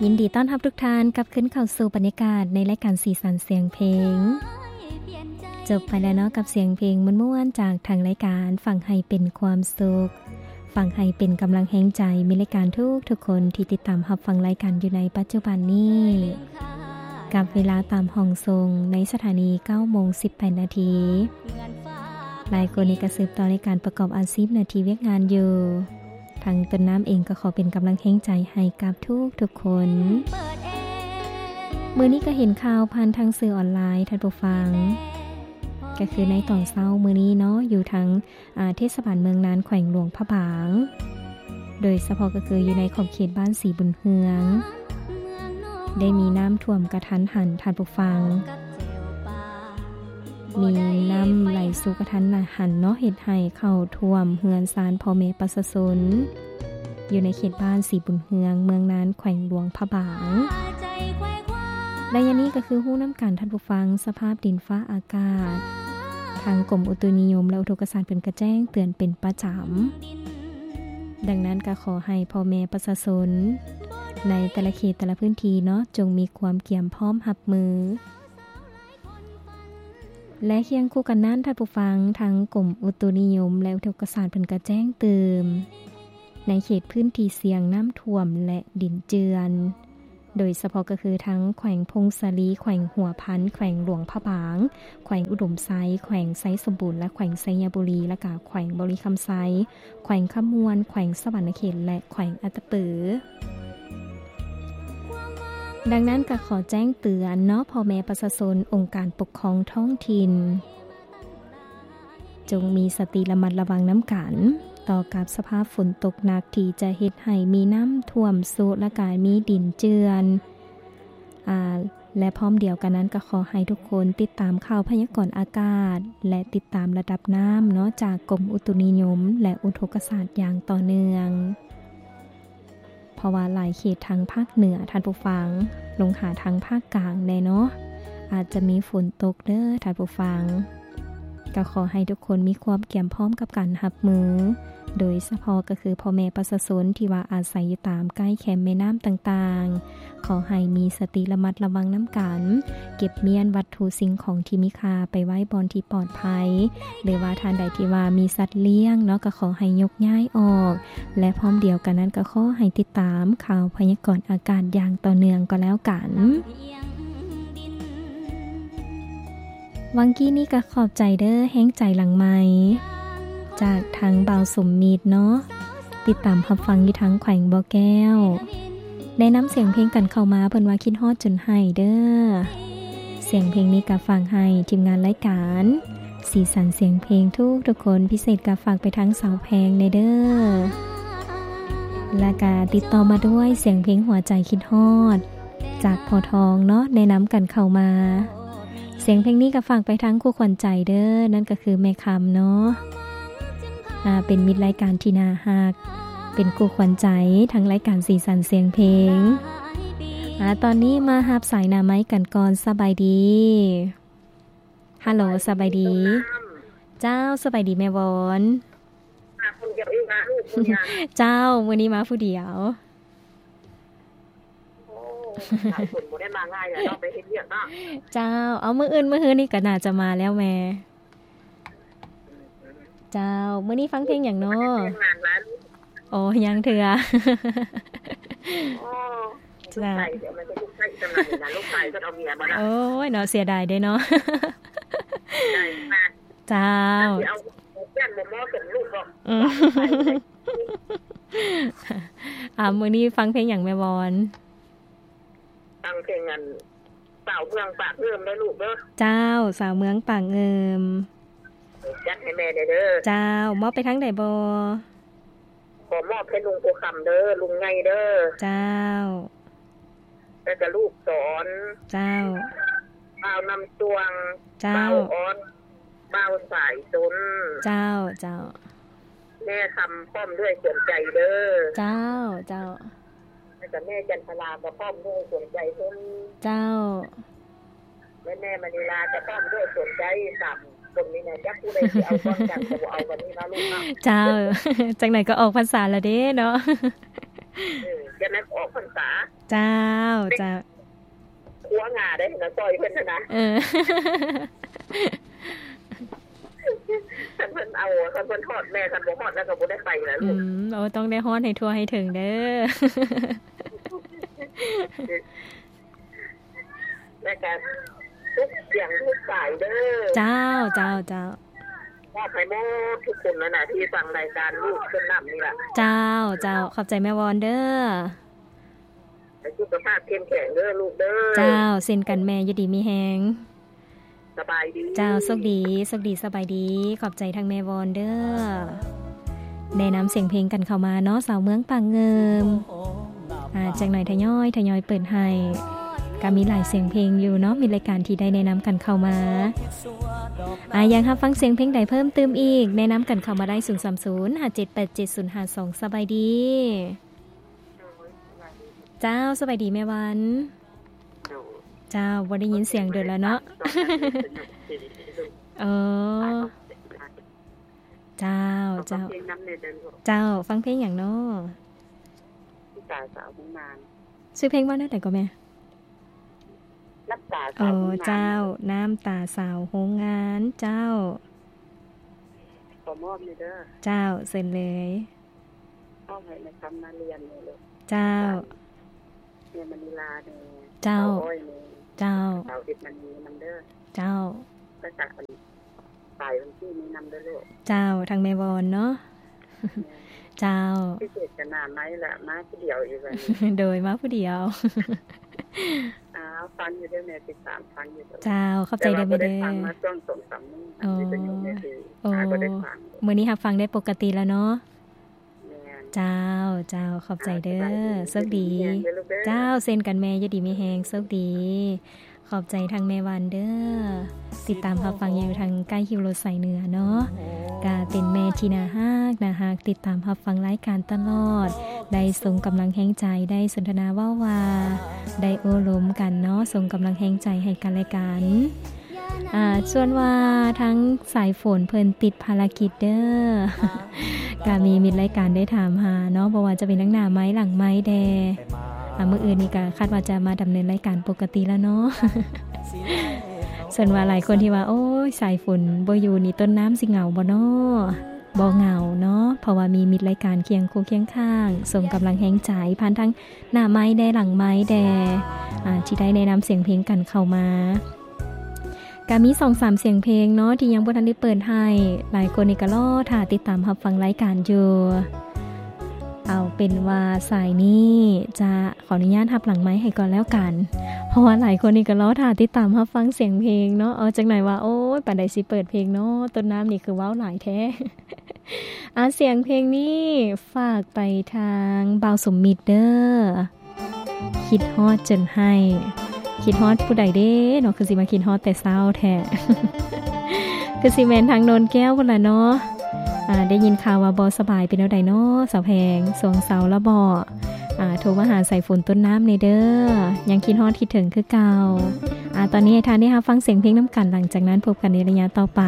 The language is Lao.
ຍິນດີຕ້ອນຮັບທຸກທ່ານກັບຄືນເຂົ້າສູ່ບັນຍາກາດໃນລາຍການສີສັນສຽງເພງ. ຈົບໄປແລ້ວເນາະ ກັບສຽງເພງມ່ວນໆຈາກທາງລາຍການ ຟັງໃຫ້ເປັນຄວາມສຸກ, ຟັງໃຫ້ເປັນກຳລັງແຮງໃຈ ມີລາຍການທຸກໆຄົນທີ່ຕິດຕາມຮັບຟັງລາຍການຢູ່ໃນປັດຈຸບັນນີ້ ກັບເວລາຕາມຫ້ອງສົ່ງໃນສະຖານີເກົ້າໂມງສິບແປດນາທີ. ຫຼາຍຄົນນີ້ກໍສືບຕໍ່ໃນການປະກອບອາຊີບໜ້າທີ່ວຽກງານຢູ່. ທາງຕົ້ນນ້ຳເອງກໍຂໍເປັນກຳລັງແຮງໃຈໃຫ້ກັບທຸກໆຄົນ. ມື້ນີ້ກໍເຫັນຂ່າວຜ່ານທາງສື່ອອນລາຍ ທ່ານຜູ້ຟັງ, ກໍຄືໃນຕອນເຊົ້າມື້ນີ້ເນາະ ຢູ່ທາງ ອາ ເທດສະບານເມືອງນານ ແຂວງຫຼວງພະບາງ, ໂດຍສະເພາະກໍຄືຢູ່ໃນຂອບເຂດບ້ານສີບຸນເຮືອງ ໄດ້ມີນ້ຳຖ້ວມກະທັນຫັນ ທ່ານຜູ້ຟັງ. ມີນ້ຳໄຫຼສູ່ກະທັນຫັນເນາະ ເຮັດໃຫ້ເຂົ້າຖ້ວມເຮືອນຊານພໍ່ແມ່ປະຊາຊົນ ຢູ່ໃນເຂດບ້ານສີບຸນເຮືອງ ເມືອງນານ ແຂວງຫຼວງພະບາງ. ໄລຍະນີ້ກໍຄືຮູ້ນຳກັນ ທ່ານຜູ້ຟັງ, ສະພາບດິນຟ້າອາກາດ ທາງກົມອຸຕຸນິຍົມ ແລະ ອຸທົກກະສາດເພິ່ນກໍແຈ້ງເຕືອນເປັນປະຈຳ. ດັ່ງນັ້ນກໍຂໍໃຫ້ພໍ່ແມ່ປະຊາຊົນໃນແຕ່ລະເຂດແຕ່ລະພື້ນທີ່ເນາະ ຈົ່ງມີຄວາມກຽມພ້ອມຮັບມື. ແລະ ຄຽງຄູ່ກັນນັ້ນ ທ່ານຜູ້ຟັງ, ທາງກົມອຸຕຸນິຍົມ ແລະ ອຸທົກກະສາດເພິ່ນກໍແຈ້ງເຕືອນ ໃນເຂດພື້ນທີ່ສ່ຽງນ້ຳຖ້ວມ ແລະ ດິນເຈື່ອນ ໂດຍສະເພາະກໍຄືທັງແຂວງຜົ້ງສາລີ, ແຂວງຫົວພັນ, ແຂວງຫຼວງພະບາງ, ແຂວງອຸດົມໄຊ, ແຂວງໄຊສົມບູນ ແລະ ແຂວງໄຊຍະບູລີ ແລະ ກະແຂວງບໍລິຄຳໄຊ, ແຂວງຄຳມ່ວນ, ແຂວງສະຫວັນນະເຂດ ແລະ ແຂວງອັດຕະປື. ດັ່ງນັ້ນກໍຂໍແຈ້ງເຕືອນເນາະ ພໍ່ແມ່ປະຊາຊົນ, ອົງການປົກຄອງທ້ອງຖິ່ນ, ຈົ່ງມີສະຕິລະມັດລະວັງນຳກັນ ຕໍ່ກັບສະພາບຝົນຕົກໜັກທີ່ຈະເຮັດໃຫ້ມີນ້ຳຖ້ວມໂຊະ ແລະ ກະມີດິນເຈື່ອນ ອາ ແລະ ພ້ອມດຽວກັນນັ້ນກໍຂໍໃຫ້ທຸກຄົນຕິດຕາມຂ່າວພະຍາກອນອາກາດ ແລະ ຕິດຕາມລະດັບນ້ຳເນາະ ຈາກກົມອຸຕຸນິຍົມ ແລະ ອຸທົກກະສາດຢ່າງຕໍ່ເນື່ອງ. ເພາະວ່າຫຼາຍເຂດທາງພາກເໜືອ ທ່ານຜູ້ຟັງ, ລົງຫາທາງພາກກາງແດ່ເນາະ ອາດຈະມີຝົນຕົກເດີທ່ານຜູ້ຟັງ. ກໍຂໍໃຫ້ທຸກຄົນມີຄວາມກຽມພ້ອມກັບການຮັບມື, ໂດຍສະເພາະກໍຄືພໍ່ແມ່ປະຊາຊົນທີ່ວ່າອາໄສຢູ່ຕາມໃກ້ແຄມແມ່ນ້ຳຕ່າງໆ, ຂໍໃຫ້ມີສະຕິລະມັດລະວັງນຳກັນ, ເກັບມ້ຽນວັດຖຸສິ່ງຂອງທີ່ມີຄ່າໄປໄວ້ບ່ອນທີ່ປອດໄພ ຫຼືວ່າທ່ານໃດທີ່ວ່າມີສັດລ້ຽງເນາະ ກໍຂໍໃຫ້ຍົກຍ້າຍອອກ ແລະ ພ້ອມດຽວກັນນັ້ນກໍຂໍໃຫ້ຕິດຕາມຂ່າວພະຍາກອນອາກາດຢ່າງຕໍ່ເນື່ອງກໍແລ້ວກັນ. ຫວ່າງກີ້ນີ້ກໍຂອບໃຈເດີ ແຮງໃຈຫຼັງໄມ ຈາກທາງບ່າວສົມມິດເນາະ ຕິດຕາມຮັບຟັງຢູ່ທາງແຂວງບໍ່ແກ້ວ. ແນະນຳສຽງເພງກັນເຂົ້າມາ ເພິ່ນວ່າຄິດຮອດຈົນໄຫ້ເດີ. ສຽງເພງນີ້ກໍຝາກໃຫ້ທີມງານລາຍການສີສັນສຽງເພງທຸກໆຄົນ, ພິເສດກໍຝາກໄປທາງສາວແພງແດ່ເດີ. ແລ້ວກໍຕິດຕໍ່ມາດ້ວຍສຽງເພງຫົວໃຈຄິດຮອດ ຈາກພໍ່ທອງເນາະ ແນະນຳກັນເຂົ້າມາ. ສຽງເພງນີ້ກໍຝາກໄປທາງຄູ່ຂວັນໃຈເດີ, ນັ້ນກໍຄືແມ່ຄຳເນາະ ອາ ເປັນມິດລາຍການທີ່ໜ້າຮັກ, ເປັນຄູ່ຂວັນໃຈທາງລາຍການສີສັນສຽງເພງ. ອາ ຕອນນີ້ມາຮັບສາຍໜ້າໄມກັນກ່ອນ. ສະບາຍດີ. ຮັລໂຫຼ ສະບາຍດີ. ເຈົ້າ ສະບາຍດີແມ່ວອນ. ມາຄົນດຽວເອງນະລູກ ເຈົ້າ ມື້ນີ້ມາຜູ້ດຽວ. ໂອ້ ຫຼາຍຄົນບໍ່ໄດ້ມາງ່າຍແລ້ວເນາະ ໄປເຮັດວຽກເນາະ. ເຈົ້າ ເອົາ ມື້ອື່ນມື້ຮືນນີ້ກໍໜ້າຈະມາແລ້ວແມ່. ເຈົ້າ ມື້ນີ້ຟັງເພງຫຍັງເນາະ? ໂອ້ ຍັງເທື່ອ. ໂອ້ ເຈົ້າ ໂອ້ຍເນາະ ເສຍດາຍເດ້ເນາະ. ເຈົ້າ ອ່າ ມື້ນີ້ຟັງເພງຫຍັງແມ່ວອນ? ຟັງເພງອັນ ສາວເມືອງປາກເອີມເດີລູກເດີ. ເຈົ້າ ສາວເມືອງປາກເອີມ ຈັດໃຫ້ແມ່ແດ່ເດີ. ເຈົ້າ ມອບໄປທາງໃດບໍ່? ຂໍມອບໃຫ້ລຸງໂພຄຳເດີ ລຸງໃຫຍ່ເດີ. ເຈົ້າ ແລ້ວກະລູກສອນ. ເຈົ້າ ບ່າວນຳຊ່ວງ. ເຈົ້າ ບ່າວອອດ ບ່າວສາຍຊົນ. ເຈົ້າ ເຈົ້າ ແມ່ຄຳພ້ອມດ້ວຍສວນໃຈເດີ. ເຈົ້າ ເຈົ້າ ແລ້ວກະແມ່ຈັນທະລາກໍພ້ອມດ້ວຍສວນໃຈເພິ່ນ. ເຈົ້າ ແລະ ແມ່ມະນີລາກໍພ້ອມດ້ວຍສວນໃຈ. ສາມຄົນນີ້ນະ ຈັກຜູ້ໃດຊິເອົາກ່ອນກັນ ກໍບໍ່ເອົາບັດນີ້ເນາະລູກເນາະ. ເຈົ້າ ຈັ່ງໃດກໍອອກພັນສາແລ້ວເດ້ເນາະ. ເອີ ຈະໄດ້ອອກພັນສາ. ເຈົ້າ ເຈົ້າ. ຄົວງາໄດ້ນະ ຊ່ອຍເພິ່ນນະ. ເອີ ຄັນເພິ່ນເອົາ ຄັນເພິ່ນຮອດແມ່ ຄັນບໍ່ຮອດແລ້ວກໍບໍ່ໄດ້ໄປລະລູກ. ອືມ ໂອ້ ຕ້ອງໄດ້ຮອດໃຫ້ທົ່ວໃຫ້ເຖິງເດີ້. ແລ້ວກໍທຸກສຽງທຸກສາຍເດີ້. ເຈົ້າ ເຈົ້າ ເຈົ້າ. ມອບໃຫ້ໝົດທຸກຄົນນັ້ນນະ ທີ່ຟັງລາຍການລູກເພິ່ນນຳນີ້ລະ. ເຈົ້າ ເຈົ້າ. ຂອບໃຈແມ່ວອນເດີ້. ໃຫ້ສຸຂະພາບເຂັ້ມແຂງເດີ້ລູກເດີ້. ເຈົ້າ ເຊັ່ນກັນແມ່ ຢູ່ດີມີແຮງ. ສະບາຍດີ. ເຈົ້າ ໂຊກດີ ໂຊກດີ ສະບາຍດີ. ຂອບໃຈທາງແມ່ວອນເດີ້ ແນະນຳສຽງເພງກັນເຂົ້າມາເນາະ ຊາວເມືອງປາກງື່ມ. ອາ ຈັກໜ່ອຍທະຍອຍ ທະຍອຍເປີດໃຫ້. ກະມີຫຼາຍສຽງເພງຢູ່ເນາະ ມິດລາຍການທີ່ໄດ້ແນະນຳກັນເຂົ້າມາ. ອາ ຢາກຮັບຟັງສຽງເພງໃດເພີ່ມຕື່ມອີກ ແນະນຳກັນເຂົ້າມາໄດ້ ສູນສາມສູນ ຫ້າເຈັດແປດເຈັດ ສູນຫ້າສອງ. ສະບາຍດີ. ເຈົ້າ ສະບາຍດີແມ່ວັນ. ເຈົ້າ ບໍ່ໄດ້ຍິນສຽງດົນແລ້ວເນາະ. ເອີ ເຈົ້າ ເຈົ້າ. ເຈົ້າ ຟັງເພງຫຍັງເນາະ? ນ້ຳຕາສາວໂຮງງານ. ຊື່ເພງວ່າແນວໃດກໍແມ່? ນ້ຳຕາສາວໂຮງງານ. ເຈົ້າ ນ້ຳຕາສາວໂຮງງານ. ເຈົ້າ ຂໍມອບແດ່ເດີ້. ເຈົ້າ ເຊີນເລີຍ. ເອົາໃຫ້ແມ່ຄຳມາລຽນນີ້ເລີຍ. ເຈົ້າ ແມ່ມະນີລານີ້. ເຈົ້າ ສາວອ້ອຍນີ້. ເຈົ້າ ສາວເອັດມະນີນຳເດີ້. ເຈົ້າ ແລ້ວກະອັນ ສາຍວັນທີນີ້ນຳເດີ້ລູກ. ເຈົ້າ ທາງແມ່ວອນເນາະ. ແມ່ນ. ເຈົ້າ ພິເສດກະໜ້າໄມ້ລະ ມາຜູ້ດຽວອີກບັດນີ້. ໂດຍ ມາຜູ້ດຽວ. ອ້າວ ຟັງຢູ່ເດີ້ແມ່ ຕິດຕາມຟັງຢູ່. ເຈົ້າ ຂອບໃຈເດີ້ແມ່ເດີ້. ແຕ່ວ່າບໍ່ໄດ້ຟັງມາຊ່ວງສອງສາມມື້. ອໍ ວິທະຍຸແມ່ດີ. ໂອ້ ຫາບໍ່ໄດ້ຟັງ. ມື້ນີ້ຮັບຟັງໄດ້ປົກກະຕິແລ້ວເນາະ. ແມ່ນ. ເຈົ້າ ເຈົ້າ ຂອບໃຈເດີ້. ອ່າ ສະບາຍດີ. ໂຊກດີ. ຢູ່ດີມີແຮງເດີ້ລູກເດີ້. ເຈົ້າ ເຊັ່ນກັນແມ່ ຢູ່ດີມີແຮງ ໂຊກດີ. ຂອບໃຈທາງແມ່ວັນເດີ້ ຕິດຕາມຮັບຟັງຢູ່ທາງໃກ້ຄິວລົດສາຍເໜືອເນາະ. ກະເປັນແມ່ທີ່ໜ້າຮັກ ໜ້າຮັກ ຕິດຕາມຮັບຟັງລາຍການຕະຫຼອດ ໄດ້ສົ່ງກຳລັງແຮງໃຈ ໄດ້ສົນທະນາເວົ້າວ່າ ໄດ້ໂອ້ລົມກັນເນາະ ສົ່ງກຳລັງແຮງໃຈໃຫ້ກັນແລະກັນ. ອາ ສ່ວນວ່າທາງສາຍຝົນເພິ່ນຕິດພາລະກິດເດີ້ ກະມີມິດລາຍການໄດ້ຖາມຫາເນາະ ບໍ່ວ່າຈະເປັນທາງໜ້າໄມ ຫຼັງໄມແດ່. ອາ ມື້ອື່ນນີ້ກະຄາດວ່າຈະມາດຳເນີນລາຍການປົກກະຕິແລ້ວເນາະ. ສ່ວນວ່າຫຼາຍຄົນທີ່ວ່າ ໂອ້ຍ ສາຍຝົນບໍ່ຢູ່ນີ້ ຕົ້ນນ້ຳຊິເຫງົາບໍ່ເນາະ? ບໍ່ເຫງົາເນາະ ເພາະວ່າມີມິດລາຍການຄຽງຄູ່ຄຽງຂ້າງ ສົ່ງກຳລັງແຮງໃຈຜ່ານທາງໜ້າໄມແດ່ ຫຼັງໄມແດ່ ອາ ທີ່ໄດ້ແນະນຳສຽງເພງກັນເຂົ້າມາ. ກະມີສອງສາມສຽງເພງເນາະ ທີ່ຍັງບໍ່ທັນໄດ້ເປີດໃຫ້ ຫຼາຍຄົນນີ້ກະລໍຖ້າຕິດຕາມຮັບຟັງລາຍການຢູ່. ເອົາເປັນວ່າສາຍນີ້ຈະຂໍອະນຸຍາດຮັບຫຼັງໄມໃຫ້ກ່ອນແລ້ວກັນ ເພາະວ່າຫຼາຍຄົນນີ້ກະລໍຖ້າຕິດຕາມຮັບຟັງສຽງເພງເນາະ. ເອົາ ຈັກໜ່ອຍວ່າ ໂອ້ຍ ປານໃດຊິເປີດເພງເນາະ ຕົ້ນນ້ຳນີ້ຄືເວົ້າຫຼາຍແທ້. ອາ ສຽງເພງນີ້ຝາກໄປທາງບ່າວສົມມິດເດີ້. ຄິດຮອດຈົນໄຫ້ ຄິດຮອດຜູ້ໃດເດ້ເນາະ ຄືຊິມາຄິດຮອດແຕ່ເຊົ້າແທ້. ຄືຊິແມ່ນທາງໂນນແກ້ວພຸ້ນລະເນາະ. ອາ ໄດ້ຍິນຂ່າວວ່າບໍ່ສະບາຍ ເປັນແນວໃດເນາະ ສາວແພງ ສວງເຊົາລະບໍ? ອາ ໂທມາຫາສາຍຝົນຕົ້ນນ້ຳແດ່ເດີ້ ຍັງຄິດຮອດຄິດເຖິງຄືເກົ່າ. ອາ ຕອນນີ້ໃຫ້ທ່ານໄດ້ຮັບຟັງສຽງເພງນຳກັນ ຫຼັງຈາກນັ້ນພົບກັນໃນໄລຍະຕໍ່ໄປ.